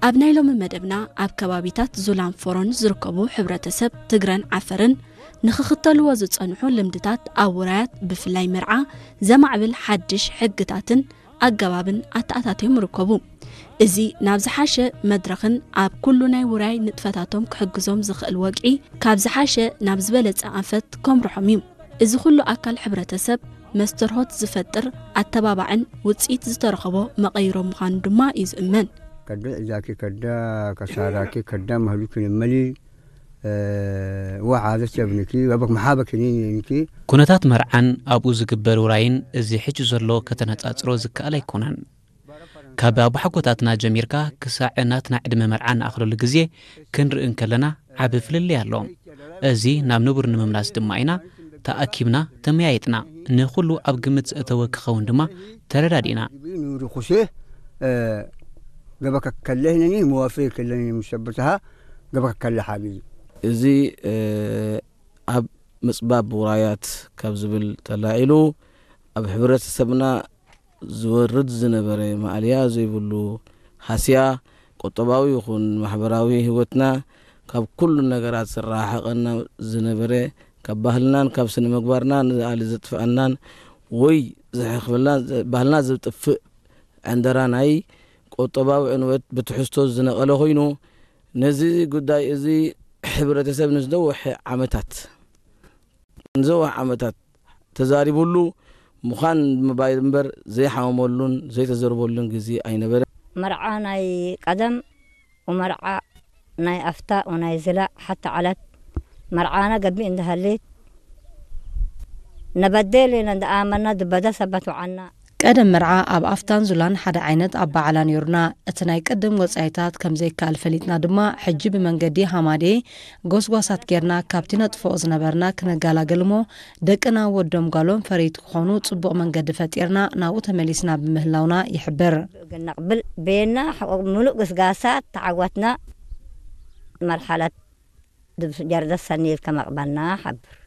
ኣብ ናይ ሎሚ መደብና ኣብ ከባቢታት ዙላን ፎሮን ዝርከቡ ሕብረተሰብ ትግረን ዓፈርን ንኽኽተልዎ ዝጸንሑ ልምድታት ኣብ ውራያት ብፍላይ መርዓ ዘማዕብል ሓድሽ ሕግታትን ኣገባብን ኣተኣታትዮም ይርከቡ። እዚ ናብ ዝሓሸ መድረኽን ኣብ ኩሉ ናይ ውራይ ንጥፈታቶም ክሕግዞም ዝኽእል ወግዒ ካብ ዝሓሸ ናብ ዝበለጸ ኣንፈት ከምርሖም እዩ። እዚ ኩሉ ኣካል ሕብረተሰብ መስተርሆት ዝፈጥር ኣተባባዕን ውጽኢት ዝተረኸቦ መቐይሮ ምዃኑ ድማ እዩ ዝእመን። ከደ እዛኪ ከዳ ከሳራኪ ከዳ መህሉኪ ንመሊ ወዓዘ ቸብንኪ ወበክ መሓበኪ ኒኒንኪ ኩነታት መርዓን ኣብኡ ዝግበር ውራይን እዚ ሕጂ ዘሎ ከተነጻጽሮ ዝከኣል ኣይኮነን። ካብ ኣቦሓጎታትና ጀሚርካ ክሳዕ ናትና ዕድመ መርዓ ንኣኽለሉ ግዜ ክንርኢ እንከለና ዓቢ ፍልልይ ኣሎ። እዚ ናብ ንቡር ንምምላስ ድማ ኢና ተኣኪብና ተመያይጥና። ንኹሉ ኣብ ግምት ዘእተወ ክኸውን ድማ ተረዳዲእና። ኑሪ ኩሴ ገበከ ከለህ ነኒ መዋፈይ ከለኒ ምሰበትሃ ገበከ ከለ ሓጊ እዚ ኣብ ምጽባብ ውራያት ካብ ዝብል ተላዒሉ ኣብ ሕብረተሰብና ዝወርድ ዝነበረ ማእልያ ዘይብሉ ሃስያ ቁጠባዊ ይኹን ማሕበራዊ ህይወትና ካብ ኩሉ ነገራት ዝረሓቐና ዝነበረ ካብ ባህልናን ካብ ስነ ምግባርና ንኣሊ ዘጥፍኣናን ወይ ዝሕኽብልና ባህልና ዘጥፍእ ዕንደራ ናይ ቁጠባዊ ዕንወት ብትሕዝቶ ዝነቐለ ኮይኑ ነዚ ጉዳይ እዚ ሕብረተሰብ ንዝነውሐ ዓመታት ንዘውሕ ዓመታት ተዛሪቡሉ ምዃን ምባል እምበር ዘይሓመመሉን ዘይተዘርበሉን ግዜ ኣይነበረ። መርዓ ናይ ቀደም ወመርዓ ናይ ኣፍታ ወናይ ዝላ ሓታ ዓለት መርዓና ገቢእ እንዳሃሌት ነበደል ኢና እንዳኣመና ዝበደ ሰበት ወዓና ቀደም መርዓ ኣብ ኣፍታን ዙላን ሓደ ዓይነት ኣበዓዕላ ነይሩና። እቲ ናይ ቅድም ወጻኢታት ከም ዘይከኣል ፈሊጥና ድማ ሕጂ ብመንገዲ ሃማዴ ጎስጓሳት ጌርና ካብቲ ነጥፍኦ ዝነበርና ክነገላግል እሞ ደቅና ወዶም ጓሎም ፈረይቲ ክኾኑ ጽቡቕ መንገዲ ፈጢርና ናብኡ ተመሊስና ብምህላውና ይሕብር። ነቕብል ቤና ምሉእ ግስጋሳት ተዓወትና። መርሓለት ጀርደስ ሰኒል ከመቕበልና ሓብር